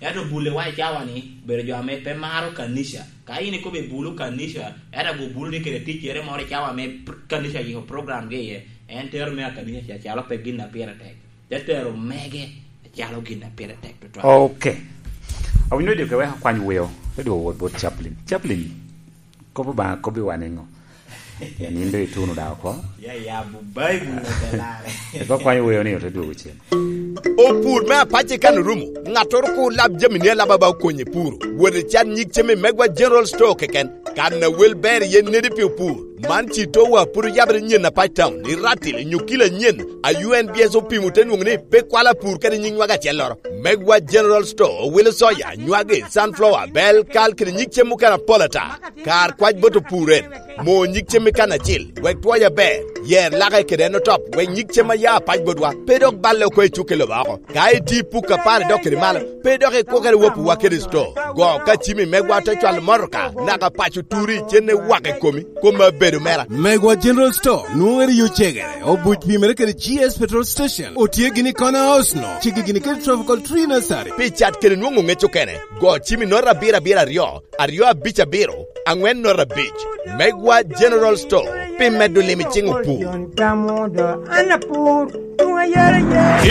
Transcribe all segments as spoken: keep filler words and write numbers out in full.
Ento bule wa i cawa ni, bedo jo ame pe maro kanica. Ka in ikobo i bulu kanica, ento ago bulu ni kede ticcere moro i cawa ame pr-, kanica yiko program ge iye, en tero me a kanica ca calo pe gin a pire tek. Te tero mege calo gin a pire tek tutwal. Ok. Awinyo dyo ke wek akwany weo, te dwogo wot bot Chaplain. Chaplain, kop Obaŋa kobbi wa niŋo? Ya nindo ituno daŋ oko. Ya, ya, bu Baibul na te lare. Eka kwanyo weo ni ote dwogo cen. Opur me apac i kan orumo. Ŋattoro kur lab jami ni alaba ba okonye puro. Wot i can nyig cem i Megwa General Store keken. Kan a wel ber iye nedi pi opur. Man ci to wa puro yabere nyen apac town. I ratil inyo kilo anyen. A U N B S opimo te nwoŋo ni pe kwalo apur kede nyig nywag acelloro. Megwa General Store owilo soya, nywagi, sunflower, bel, kal kede nyig cem mukene apol ata. Kar kwac bot opur en, mo nyig cem i kan acil, wek twoc aber, yer lake kede en otop, wek nyig cem a ya apac botwa, pe dok balle oko i cukke lobo oko. Ka iti puk apar idok kede malo, pe dok ikwokere wopiwa kede sto. Go ka cimi megwa te cwalo motoka, naka paco turi, cenne wak i komi, kom abedo mera. Megwa General Store, nwoŋere yo cegere, obuc pimere kede G S Petrol Station, otye gini i Corner House no, cigi gini kede Tropical Tree Nursery. Pi cat kede nwoŋo ŋec okene, go cimi nota abiro abiro aryo, aryo abic abiro, aŋwen nota abic. Megwa General Store, pi medo lim i ciŋ opur.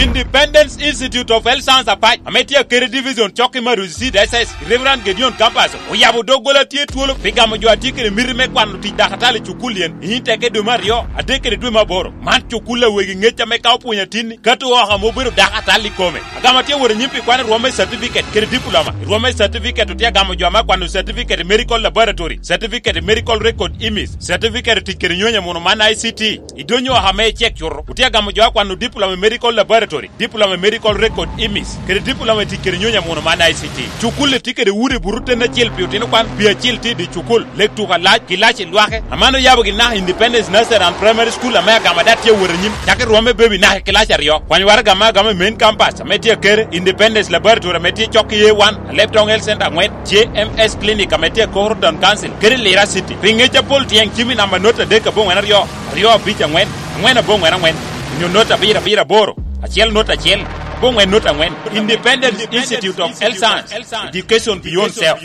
Independence Institute of Health Science Apac, ame tye Akere Division, cok i Marusi City, S S, Reverend Gedeon Campus, oyabo doggola tye twolo pi gamo jo a tye kede miti me kwano tic dakatali i cukul yen, i teke dwe me aryo, adek kede dwe me aboro. Man cukul a wegi ŋec ame ka opwonyo atinni, kato oko ame obedo dakatali i kome. Agamo tye wot anyim pi kwano rwom me certificate kede diploma. Rwom me certificate otye agamo jo ame akwano certificate i medical laboratory, certificate i medical record image, certificate i tic kede nyonyo amuno man I C T. I donyo oko ame icek cuto, otye agamo jo akwano diploma i medical laboratory, diploma i medical record image, kede diploma i tic kede nyonyo amuno man I C T. Cukul-li tye kede udi buto ten acel pi otino kwan, pi acil tye i dye cukul, lek tuko alac, kilaci lwake. Aman oyabo gin naka Independence Nursery and Primary School ame agamo ada tye awot anyim. Cak i rwom me baby naka i kilaci aryo. Kwany waraga ame agamo i main campus ame tye Akere, Independence Laboratory ame tye cok i A one, Alebtong Health Center aŋwen, J M S Clinic ame tye i Koro Town Council, kede Lira City. Pi ŋec apol tyeŋ cimi namba not adek aboŋwen aryo, aryo abic aŋwen, aŋwen aboŋwen aŋwen, onyo not abiro abiro aboro, acel not acel, aboŋwen not aŋwen. Independence Institute of Health Science, Education Beyond Self.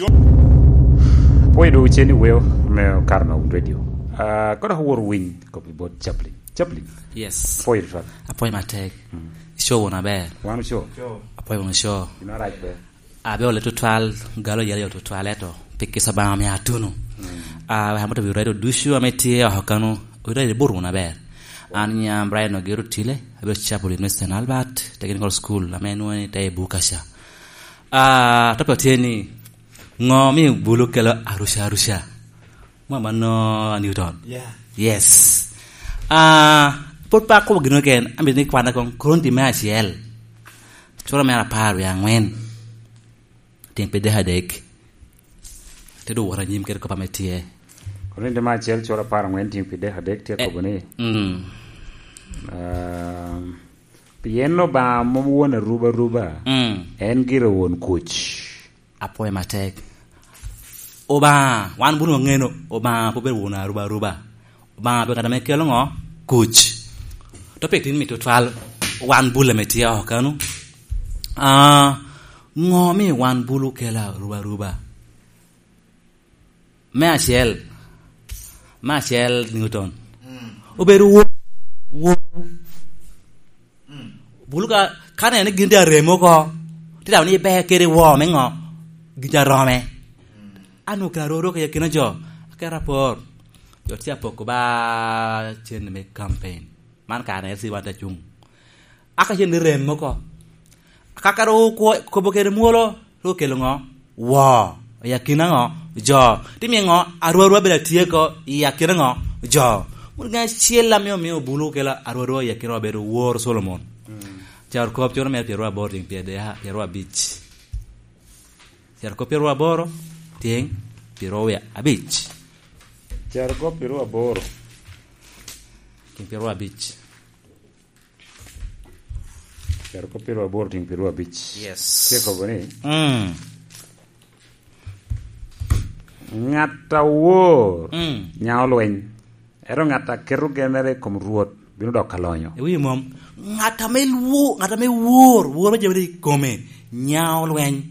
Apwoyo dwogo cen i weo me Karno Radio. Ah, koro awor winy kop i bot Chaplain. Chaplain. Yes. Apwoyo tutwal. Apwoyo matek. Mm. Ico wunu aber. Wan oco. Apwoyo wunu co. Ino arac ber. Abe ole tutwal, galo yel yo tutwal eto. Pi kisa ba mi atunu. Mm. Ah, we hamoto bi radio ducu ame tye oko kanu. Wi radio bur wunu aber. An nyam Brian Ogero Tile, abedo Chaplain me Saint Albert Technical School, ame nwoŋo ni te i Bukaca. Ah, topic tye ni, ŋo mi bulu kelo aruca aruca? Mom anno Newton. Yeah. Yes. Ah, pwod pe akobo gin keken, amito ni kwana kong Korinti me acel. Cura mere apar wie aŋwen. Tyen pye dek adek. Te dok wot anyim kede kop ame tye. Korinti me acel cura apar aŋwen tyen pye dek adek tye, eh, kobo ni, mm. Ah, pien Obaŋa mom won arubaruba, mm, en gire won kuc. Apwoyo matek. Obaŋa, wan bun waŋeno, Obaŋa pe obedo won arubaruba. Obaŋa pe ŋat ame kelo ŋo? Kuc. Topic tin mito twal wan bul ame tye oko kanu. Ah, ŋo mi wan bulu kelo arubaruba? Me acel, me acel Newton. Mm. Obedo wo-, wo-, Mm. Bulu ka, ka neno ni gin tye arem oko, tye daŋ ni iber kede wo me ŋo? Gin ca rome. Mm. An okelo aroro kede akina jo, aketo apor. Jo tye apoko ba cen me campaign. Man kare na L C wan te cuŋ. Aka cen ni rem oko. Aka kare okwo-, kobo kede mwolo, Rik okelo ŋo? Woo. I akina ŋo? Jo. Ti miyo ŋo? Arwarwa bedo atye ko i akina ŋo? Jo. Mot ŋa acel ame omio bulu okelo arwarwa i akina obedo wor Solomon. Mm. Carokop coro mere pyeraryo aboro tyen pyerade-, pyeraryo abic. Carokop pyeraryo aboro tyen pyeraryo abic. Carokop pyeraryo aboro. Tyen pyeraryo abic. Carokop pyeraryo aboro tyen pyeraryo abic. Yes. Tye kobo ni, mm, ŋat awor, mm, nyaŋo lweny, ento ŋat a keto genere i kom Rwot bino doko alonyo. Iwinyo mom? Ŋat ame lwo-, ŋat ame wor, woro jami i kome, nyaŋo lweny.